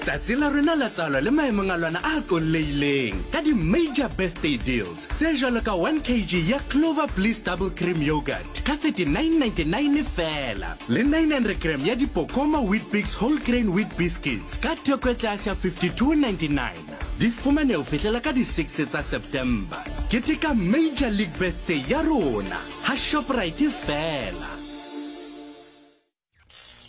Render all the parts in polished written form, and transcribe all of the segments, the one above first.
Tsatsi la rona la tswalo le maemong a lona a qollehileng ka di-major birthday deals tse jwalo ka 1 kg ya Clover Bliss Double Cream Yogurt ka 39.99 feela le 900 gram ya Dipokoma Weet-Bix Whole Grain Wheat Biscuits ka theko e tlase ya 52.99. Di fumane ho fihlela ka di-6 tsa September. Keteka Major League Birthday ya rona ha Shoprite feela.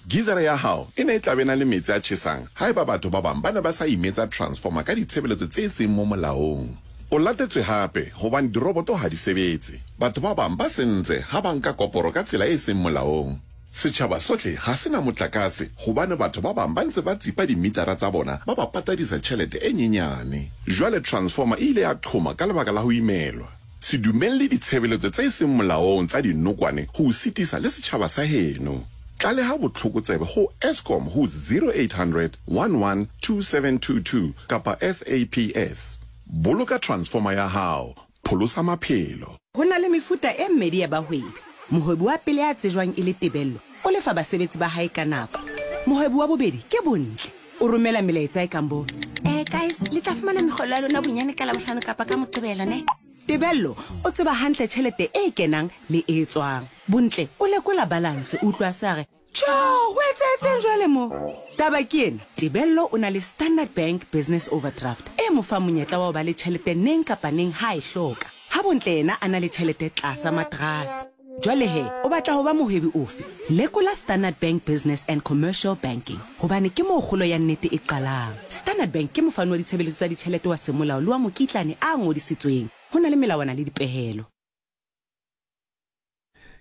Gizara ya hao e ne e tla be na le metsi a tjhesang haeba batho ba bang ba ne ba sa imetsa transformer ka ditshebeletso tse seng mo molaong. O latetswe hape hobane diroboto ha di sebetse. Batho ba bang ba sentse ha ba nka koporo ka tsela e seng molaong. Setjhaba sohle ha se na motlakase hobane batho ba bang ba ntse ba tsipa dimitara tsa bona ba ba patadisa tjhelete e nyenyane. Jwale transformer e ile ya qhoma ka lebaka la ho imelwa. Se dumelle ditshebeletso tse seng molaong tsa dinokwane ho o sitisa le setjhaba sa heno. Tlaleha botlhokotsebe ho Eskom ho 0800 11 2722 kapa SAPS. Boloka transformer ya hao, pholosa maphelo. Ho na le mefuta e mmedi ya bahwebi. Mohwebi wa pele ya tsejwang e le Tebello o lefa basebetsi ba hae ka nako. Mohwebi wa bobedi ke Bontle. O romela melaetsa e kang bo, Eh, guys, le tla fumana mekgolo ya lona bonyane ka Labohlano kapa ka Moqebelo, ne? Tebello o tseba hantle tjhelete e kenang le e tswang. Bontle o lekola balanse, o utlwa a se a re, Tjho, ho etsahetseng jwale mo? Taba ke ena, Tebello o na le Standard Bank Business Overdraft e mo fang monyetla wa ho ba le tjhelete neng kapa neng ha a e hloka. Ha Bontle yena a na le tjhelete tlasa materase. Jwale he, o batla ho ba mohwebi ofe? Lekola Standard Bank Business and Commercial Banking, hobane ke moo kgolo ya nnete e qalang. Standard Bank ke mofani wa ditshebeletso tsa ditjhelete wa semolao le wa mokitlane a ngodisitsweng. Ho na le melawana le dipehelo.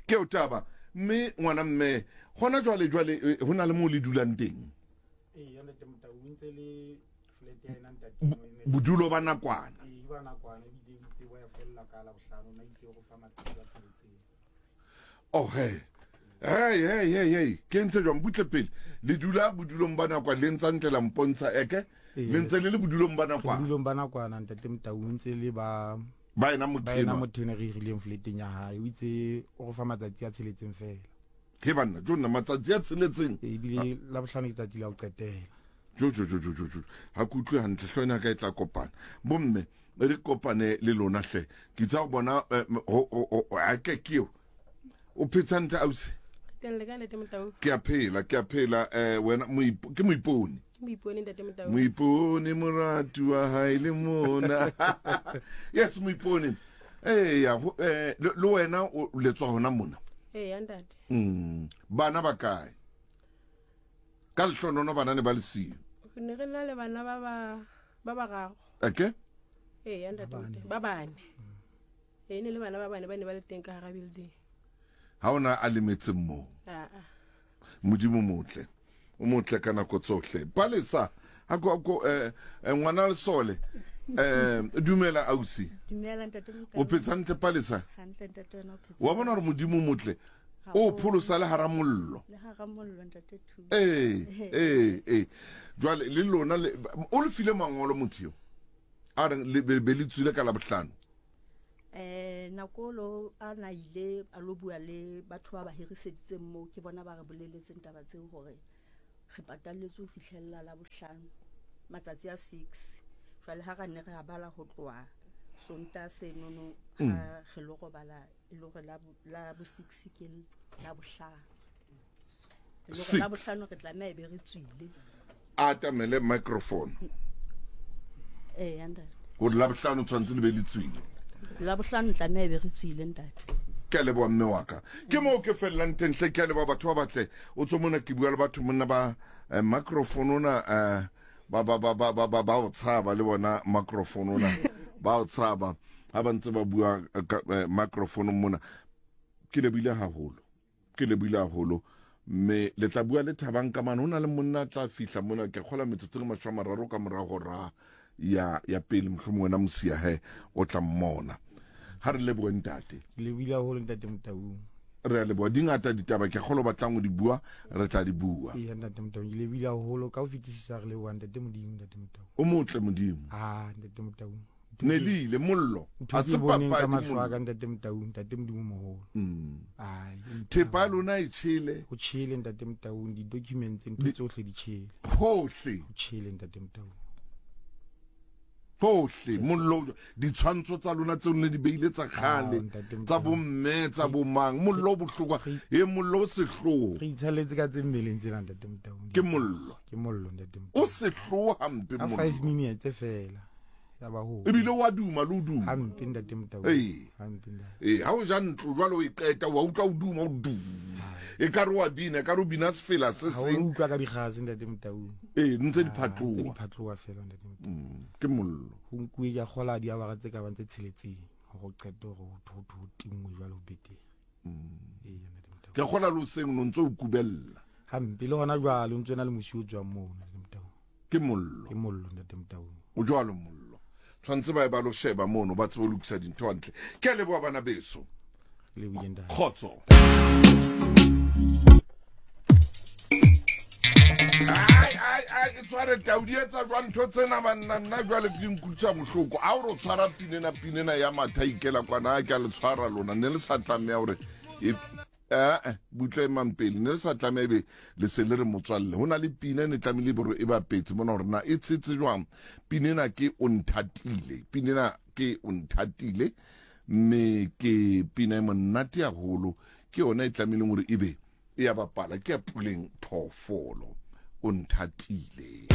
Keo taba mme ngwana mme gona jwale jwale eh, ho na le moo le dulang teng. Ee, ntate Motau o ntse le flat ya ena ntate mo emetse. Bodulo ba nakwana. Ee, ba nakwana ebile o itse wa ya fella ka la bohlano na itse go fa matsatsi a tsheletseng. Oh hey. Hey hey hey hey, ke ntse jwang butle pele. Le dula bodulong ba nakwana le ntsa ntle la mpontsha eke. Le ntse le le bodulong ba nakwana. Bodulong ba nakwana ntate Motau o ntse le ba ba ena motho ba ena motho ene re hirileng flateng ya hae o itse o go fa matsatsi a tsheletseng fela. He banna, jo nna matsatsi a tsheletseng. Ebile la bohlano ke tsatsi la ho qetela. Jo jo jo jo jo jo. Ha ke utlwe hantle hlooho ena ka e tla kopana. Bomme re kopane le lona hle. Ke tsa go bona eh, a ke ke eo. O phetse hantle ausi? Teng le ka ntate Motau. Ke a phela, ke a phela eh wena ke moipone. Ke moipone ntate Motau. Moipone moratu wa hae le mona. Yes moipone. Eya eh le wena o le tswa hona mona. Eya ntate. Bana ba kae? Ka lehlonono bana ne ba le siyo. Re ne re na le bana ba ba ba bararo. Okay. Eya ntate Motau, ba bane. Ee ne le bana ba bane ba ne ba le teng ka hara building. Ha ona a lemetseng moo. Aa. Modimo motle. O motle ka nako tsohle. Palesa a ko ko eh, eh ngwana lesole. Eh dumela ausi. Dumela ntate Mokau. O phetse hantle Palesa? Hantle ntate wena o phetse. Wa bona hore Modimo motle. O pholosa le hara mollo. Le hara mollo ntate Thu. Ee, ee, ee. Jwale le lona le o le file mangolo motho eo. A reng le be le tswile ka Labohlano. Eh nako lo a na ile a lo bua le batho ba ba hiriseditseng moo ke bona ba re boleletseng taba tseo hore re patalletswe ho fihlella la bohlano matsatsi a 6 jwale ha ra ne re a bala ho tloha Sontaha senono ha re lo robala e le hore la bo 6 ke la bohlano e le hore la bohlano re tlameha e be re tswile. A atamele microphone. Ee, ntate. Gore la bohlano tshwanetse le be le tswile. La bohlano tlameha e be re tswile ntate. Ke a leboha mme wa ka. Ke moo ke fellang teng hle ke a leboha batho ba batle. O tswe mona ke bua le batho monna ba eh, microphone ona eh, ba ba ba ba ba ba ba o tshaba le bona microphone ona ba o tshaba ha ba ntse ba bua eh, ka eh, microphone mona. Ke lebohile haholo. Ke lebohile haholo mme le tla bua le Thabang ka mane. Ho na le monna a tla fihla mona ke kgola metsotso le mashome a mararo ka mora hora ya ya pele mohlomong wena mosia he o tla mmona. Ha re lebohe ntate. Ke lebohile haholo ntate Motaung. Re a leboha di ngata ditaba ke kgolo batlang ho di bua re tla di bua. Ee ntate Motaung ke lebohile haholo ka ho fetisisa re leboha ntate Modimo ntate Motaung. O motle Modimo. Ah ntate Motaung. Ne le ile mollo. Ntho A ke se boneng ka papadi mahlo a mollo. ka ntate Motaung, ntate Modimo moholo. Ai, o mphe Thepa ya haholo. lona e tjhele Ho tjhele ntate Motaung, di-documents ntho tsohle di tjhele. hohle. Ho tjhele ntate Motaung. Hohle mollo ditshwantsho tsa lona tseo ne di beile tsa kgale Ah, ntate tsa Motaung. bomme tsa bomang mollo o bohlokwa e mollo o sehloho Re itshaletse ka tse mmeleng tsena ntate Motaung. ke mollo Ke mollo ntate Motaung. o sehloho hampe Ka mollo 5 minutes fela. Ya ba ho. ebile wa duma le o duma Hampe ntate Motaung. Ee. Hampe ntate. ee ha o ja ntlo jwale o e qeta wa utlwa o duma o du e ka re wa bina e ka re o bina sefela se Ha o seng utlwa ka dikgase ntate Motaung. ee ntse di Ah, Tse di phatloha phatloha fela ntate Motaung. ke mollo Ho nkuwe ke a kgola diawara tse ka bang tse tsheletseng hore o qete hore ho ho ho tingwe jwale ho betere. Ee ntate Motaung. ke kgola le hoseng no ntse o kubella Hampe le hona jwale o ntso na le mosi o tswang moo ntate Motaung. ke mollo Ke mollo ntate Motaung. o jwalo mollo tshwanetse ba ye ba lo sheba mono ba tsebe ho lokisa dintho hantle ke a leboha bana beso Le lebohile ntate. kgotso ai ai ai e tshware tau di etsa jwang ntho tsena banna nna jwale di nkutlwisa bohloko a ore o tshwara pinena pinena ya matha ikela kwana a ke a le tshwara lona ne le sa tlameha hore e ee butle emang pele ne le sa tlameha ebe le se le re motswalle ho na le pina e ne tlamehile bore e bapetse mona hore na e tshetse jwang pina ena ke o nthatile pina ena ke o nthatile mme ke pina e monate haholo ke yona e tlamehileng hore ebe e ya bapala ke ya puleng phoofolo o nthatile.